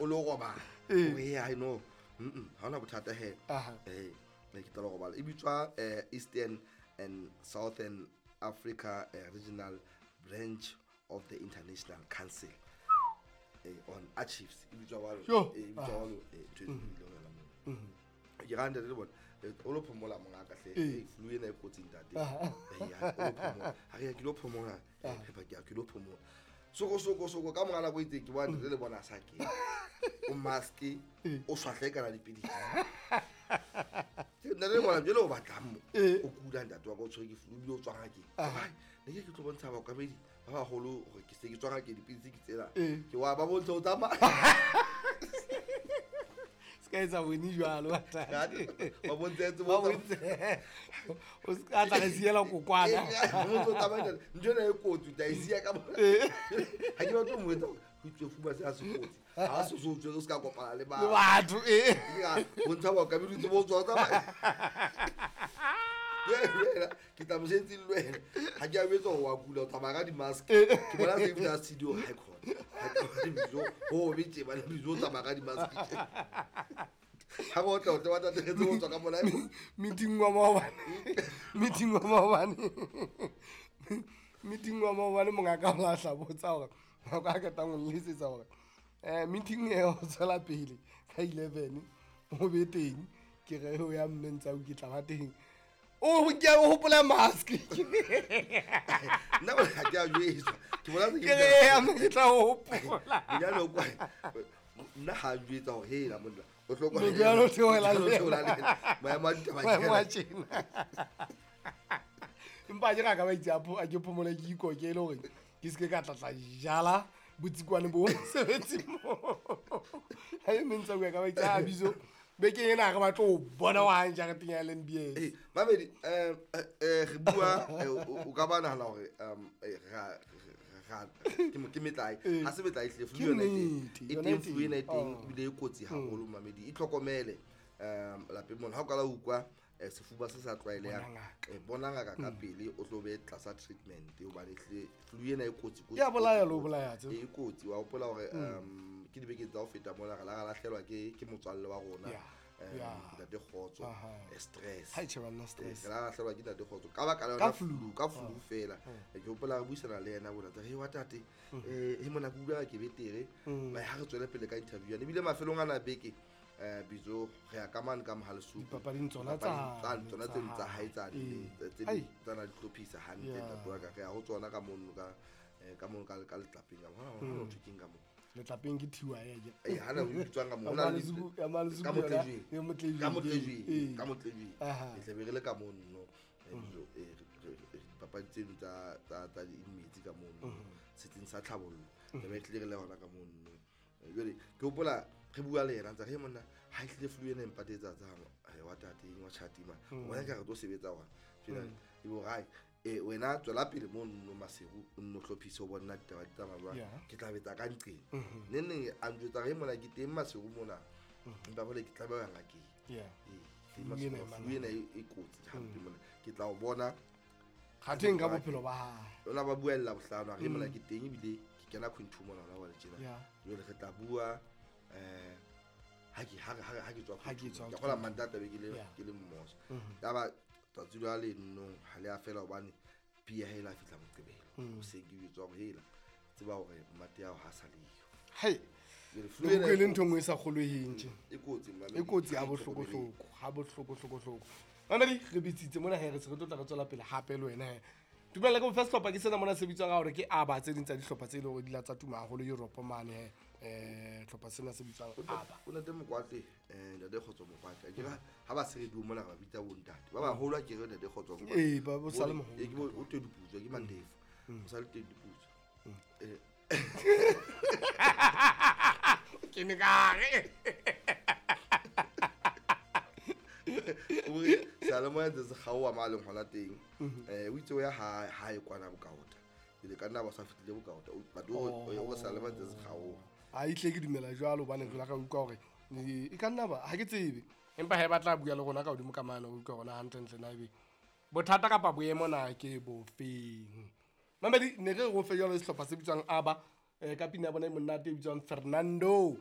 O lo robala. Ee. O re ai no. Ha hona bothata he. Aha. Eh, ne ke tla lo robala. E bitswa Eastern and Southern Africa Regional Branch of the International Council on Archives. E bitswa jwalo. Sure. E bitswa jwalo, ntho e ileng yona moo. Ke ra ntate le bona, o lo phomola mongaka hle. Ee. Eh, flu ena e kotsi ntate. Aha. Eh, ya, o lo phomola. Ha re ya ke lo phomola, phepa ke ya ke lo phomola. Soko soko soko ka mora nako e itseng ke bona ntate le bona a sa kena. O mask, o swahle kana dipidisi. Ntate le bona jwale o batlang mo. Ee. O kula ntate wa ka o tshwere ke flu ebile o tswa ngakeng. Aha. Ai, ne ke ke tlo bontsha baokamedi ba baholo hore ke se ke tswa ngakeng dipidisi ke tsena. Ee. Ke wa ba bontsha o tsamaya. Se ka etsa bone jwalo ntate. Ba bontsha Ba bontshe. O se ka tla re siela kokwana. motho o tsamaya jwale, ntho ena e kotsi o tla e siya ka mona. Ee. Ha ke batle ho mo etsa hore ho itswe fuba se ha se kotsi. Ha se so tswe o se ka kopana le Le batho. batho, ee. Ke a bontsha baokamedi o tsebe ho tswa o tsamaya. Jwale wena, ke tla mosebetsing le wena. Ha ke a jwetsa hore wa kula, o tsamaya ka di-mask. Ke bona se ebile a studio, ha e khona. Ha e khona, Bizo, ho be tje, bana, Bizo o tsamaya ka di-mask tje. Ha re otla, o tle wa tatetse ho tswa ka mona. Meeting wa maobane. Meeting wa maobane. Meeting wa maobane mongaka o la tla botsa hore nako a qetang ho nletsetsa hore, meeting e ho tswela pele ka 11 o be teng, ke re ho ya mme ntsa o ke tla ba teng. O ke o hopola mask. Nna bona ha ke a jwetswa. Ke bona se ke Ke re ya mme ke tla o hopola. Monyane o kwa, nna ha a njwetsa hore hela monna, o hloka Monyane o theohela le o theohela le yena. Maemo a ditaba ke Maemo a ana. tjena. Empa ke ra ka ba itse a ke phomole ke ikoke e le hore ke se ke ka tla tla jala botsikwane bo mosebetsing moo. Ha e mme ntse a bua ka ba itse, a Bizo, bekeng ena ha re batle ho bona wa hang jareteng ya LNBS. Eh, mamedi, re bua, o ka ba nahana hore, ke metlae. Eh. Ha se metlae hle, flu Ke yona e teng. nnete, E yona teng e flu ena e teng. teng, Oh. ebile e kotsi haholo, mamedi. Itlhokomele, lapeng mona. Ha o qala ho utlwa, sefuba se sa tlwaelehang, Bona ngaka. bona ngaka ka pele, o tlo be tlasa treatment, hobane hle flu ena e kotsi, kotsi, Ya bolaya kotsi, le ho kotsi. bolaya tse. E kotsi. Wa hopola hore, ke dibeke tsa ho feta mona re la ra lahlelwa ke motswalle wa rona. Yeah. Yeah. Ntate Kgotso, Aha. stress. Ha e tjhe banna, stress. Re la lahlelwa ke ntate Kgotso. Ka baka la Ka yona flu. flu, ka flu fela. Ke hopola re buisana le yena bona, re wa tate, he mona ke utlwa ke betere. Ba ha re tswele pele ka interview yana. Ebile mafelong ana a beke, Bizo, re ya ka mane ka Mohalesuku. Dipapading tsona Dipapading tsane, tsona tsa tse tsa hae tsane, Ee. tse Ai. tsa na di hlophisa hantle, Yeah. ntate wa ka. Re ya ho tsona ka mono ka mono ka letlapeng ka mo. Hona ho thwe keng ka mo? Letlapeng ke thiwa ya ke. Eh, hana ho bitswang ka mo. Ya Hona le Malesuku, ya Malesuku ka yona, Motlejweng. ya Motlejweng. Ka Motlejweng, Ee. ka Motlejweng. Aha. E tlabe re le ka mono. Bizo, dipapadi tseno tsa di-inmates ka mono. Setsing sa tlhabollo. Tlabe re tlile re le hona ka mono. Jwale, ke hopola re bua le yena, ntse re, monna, ha ehlile flu ena e mpatetsa tsa, wa tate, wa tjhati man. Wena ka re tlo sebetsa hona. Jwale, e bo re, wena tswela pele mono Maseru, o nno hlophise ho bona ditaba di tsamaya jwang. Yeah. Ke tla betsa ka nqeng. Neng neng a njwetsa re mona ke teng Maseru mona. Empa jwale ke tlameha ho ya ngakeng. Yeah. Teng Flu Maseru, ena e flu ena e kotsi hampe mona. Ke tla o bona. Kgatheng ka bophelo ba hae. Lona ba bua lela bohlano, a re mona ke teng ebile ke kena quinto mona hona jwale tjena. Yeah. Jwale re tla bua, ha ke, ha re, ha re, ha ke tswa Ha ke Quinto. tswa Ke kgola Mantaha tla be ke le, Yeah. ke le mmoso. Yaba tsatsi la leno ha le a fela hobane pia ha e la fihla Moqebelo. Hoseng ke jwetswa hore hela, tseba hore mmate ya hao ha sa le yo. Hai. Jwale flu Le ena utlwe e le ntho e nngwe e sa kgolweheng tje. E kotsi, mamedi. E kotsi ha Ha e bohloko-hloko, ha bohloko-hloko-hloko. Mamedi, re bitsitse mona he, re se re tlo tla re tswela pele hape le wena he. Dumela ke bofe sehlopha ke sena mona se bitswang ka hore ke ABBA, tse ding tsa dihlopha tse leng hore di la tsa tuma haholo Europe mane he. Hlopha sena se bitswang ABBA. O ntate Mokwatle, ntate Kgotso Mokwatle. Akere ha ba se re bue mona re ba bitsa bo ntate. Ba baholo ha ke re ntate Kgotso Mokwatle. Ee, ba bo sale Bo- moholo. ke bo, o teng diputswa, ke Mandefu. O sale teng diputswa. Ke ne ka re. O re, seyalemoya ntse se kgaoha ma leng hona teng. O itse o ya hae kwana Bokaota. Pele ka nna ba sa fihlile Bokaota. O, but o re, o re seyalemoya ntse se kgaoha. Ha ehlile ke dumela jwalo hobane re la ka utlwa hore, e ka nna ba, ha ke tsebe. Empa ha e batla bua le rona ka hodimo ka mane, o utlwa rona hantlentle na ebe bothata kapa boemo na ke bofeng. Mamedi, ne re re o fe jwalo sehlopha se bitswang ABBA, ka pina ya bona e monate e bitswang Fernando.